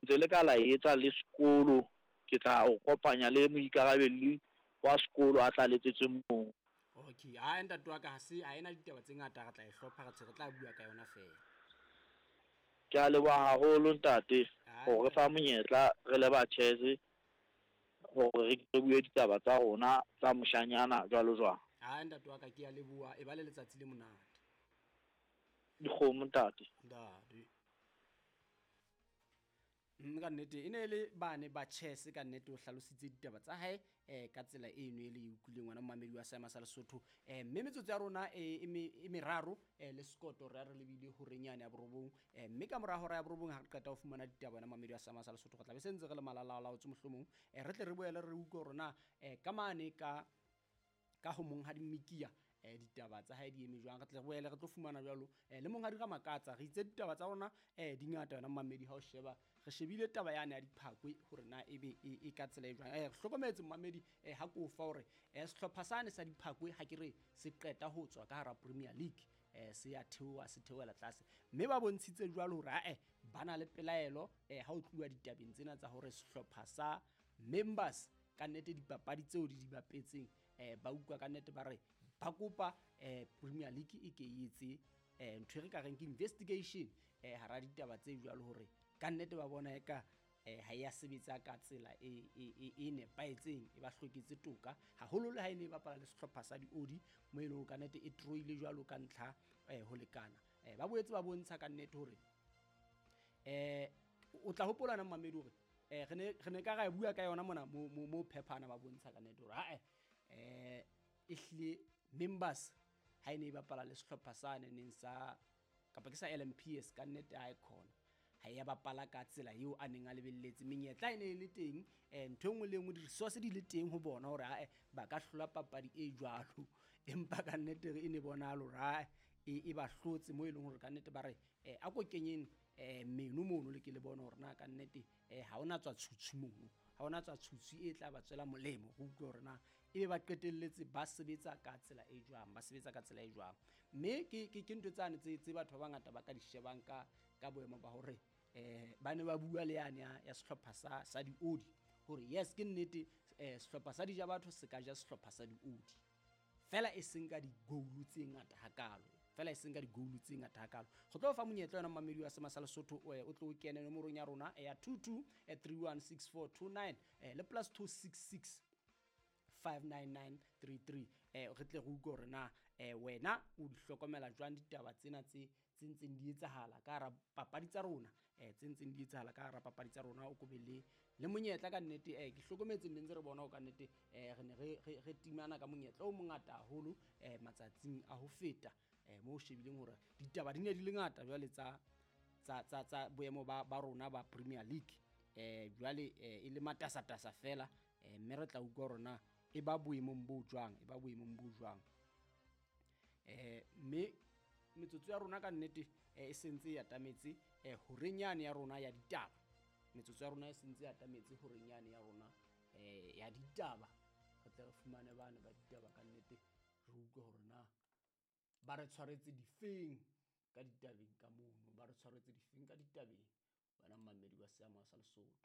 Ntse le ka la etsa le sekolo, ke tla o kopanya le moikarabelli wa sekolo a tla letsetse moo. Okay, ha ntate wa ka ha se ha ena ditaba tse ngata, re tla e hlopha, re re tla bua ka yona fela. Ke a leboha haholo ntate hore re fa monyetla re le ba chess hore re bue ditaba tsa rona tsa moshanyana jwalo jwalo. Ha ntate wa ka, ke a leboha, e ba le letsatsi le monate. Dikgomo ntate. Ntate. Ka nnete e ne e le bane ba chess, ka nnete o hlalositse ditaba tsa hae ka tsela eno e le e utlwileng, ngwana momamedi wa seema sa Lesotho. Mme metsotso ya rona e meraro le sekoto, re a re lebile horeng yane ya 9. Mme ka mora hora ya 9, ha re qeta ho fumana ditaba, wena mamedi wa seema sa Lesotho, re tla be se ntse re le malalalaotse, mohlomong re tle re boele re utlwe hore na ka mane ka ho monghadi Mmikia ditaba tsa hae di eme jwang. Re tle re boele re tlo fumana jwalo le monghadi Ramakatsa. Re itse ditaba tsa rona di ngata, wena momamedi. Ha o sheba, re shebile taba yane ya Diphakwe, hore na ebe e ka tsela e jwang. Re hlokometse, momamedi, ha ko fa hore sehlopha sane sa Diphakwe, ha ke re se qeta ho tswa ka hara Premier League, se ya theoha, se theohela tlase, mme ba bontshitse jwalo hore ae ba na le pelaelo ha o tluwa ditabeng tsena tsa hore sehlopha sa Members, ka nnete dipapadi tseo di di bapetseng, ba utlwa ka nnete ba re ba kopa Premier League e ke e etse ntho e re ka reng ke investigation hara ditaba tse jwalo, hore ka nnete ba bona eka ha ya sebetsa ka tsela e nepahetseng, e ba hloketse toka haholo, le ha e ne e bapala le sehlopha sa Diodi, mo e leng hore ka nnete e troile jwalo ka ntlha ho lekana. Ba boetse ba bontsha ka nnete hore o tla hopola na, mamedi, hore re ne ka ra bua ka yona mona mo Phephana, ba bontsha ka nnete hore ha e hlile Members ha e ne e bapala le sehlopha sa neng sa kapa ke sa LMPS, ka nnete ha e khona ha ya bapala ka tsela eo a neng a lebelletse. Menyetla e ne e le teng, ntho e nngwe le e nngwe, di-resource di le teng ho bona hore ae ba ka hlola papadi e jwalo, empa ka nnete e ne bonahale hore ae e ba hlotse, mo e leng hore ka nnete ba re a ko kenyeng meno mono, le ke le bone hore na ka nnete ha ona tswa tshutshu mono, ha ona tswa tshutshu e tla ba tswela molemo. Go utlwe hore na ebe ba qetelletse ba sebetsa ka tsela e jwang, ba sebetsa ka tsela e jwang. Mme ke ntho tsane tse batho ba bangata ba ka di shebang ka boemo ba hore ba ne ba bua le yane ya sehlopha sa Diodi, hore yes, ke nnete, sehlopha sa Dijabatho se ka ja sehlopha sa Diodi fela, e seng ka di-goal tse ngata hakalo, fela e seng ka di-goal tse ngata hakalo. Go tlo fa monyetla yona, mamedi wa sema sa Lesotho, o tlo o kene nomorong ya rona ya 22 316429 le +266 59933, re tle re utlwe hore na wena o di hlokomela jwang ditaba tsena tse ntseng di etsahala ka hara papadi tsa rona, tse ntseng di etsahala ka hara papadi tsa rona. O kobe le monyetla ka nnete. Ke hlokometse nne ntse re bona ho ka nnete re ne re timana ka monyetla o mongata haholo matsatsing a ho feta, mo o shebileng hore ditaba di ne di le ngata jwale tsa boemo ba rona ba Premier League, jwale e le matasatasa fela, mme re tla utlwa hore na e ba boemong bo jwang, e ba boemong bo jwang. Mme metsotso ya rona ka nnete e sentse e atametse horeng yane ya rona ya ditaba. Metsotso ya rona e sentse e atametse horeng yane ya rona ya ditaba. Re tle re fumane bane ba ditaba, ka nnete re utlwe hore na ba re tshwaretse difeng ka ditabeng ka mono, ba re tshwaretse difeng ka ditabeng, wena mmamedi wa seama sa Lesotho.